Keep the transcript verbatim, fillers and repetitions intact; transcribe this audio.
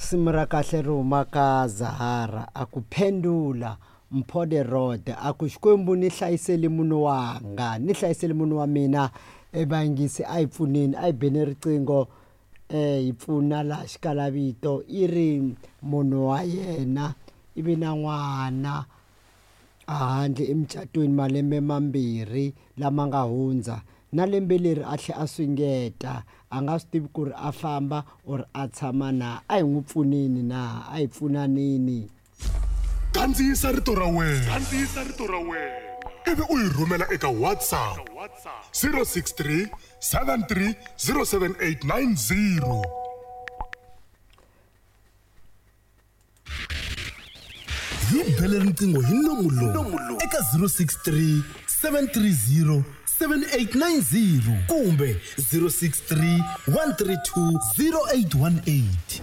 Risimu ra kahle ri humaka Zahara a ku phendula mpho de rod a ku Xikwembu ni hlayiseli munhu wanga ni hlayiseli munhu wa mina evangisi a yi pfuneni a yi beni riqingho eh yi pfuna laha xikalavito i ri munhu wa yena i vi na n'wana ahandle emucatweni malembe mambirhi lama nga hundza na lembe leri a tlhe a swingeta a nga swi tivi ku ri a famba or a tshama na a hi n'wi pfuneni na a hi pfunanini. Kandziyisa rito ra wena. Kandziyisa rito ra wena ivi u yi rhumela eka WhatsApp zero six three seven three zero seven eight nine zero. Hi bele riqingho hi nomu lowu eka zero six three seven three zero seven eight nine zero kumbe zero six three one three two zero eight one eight.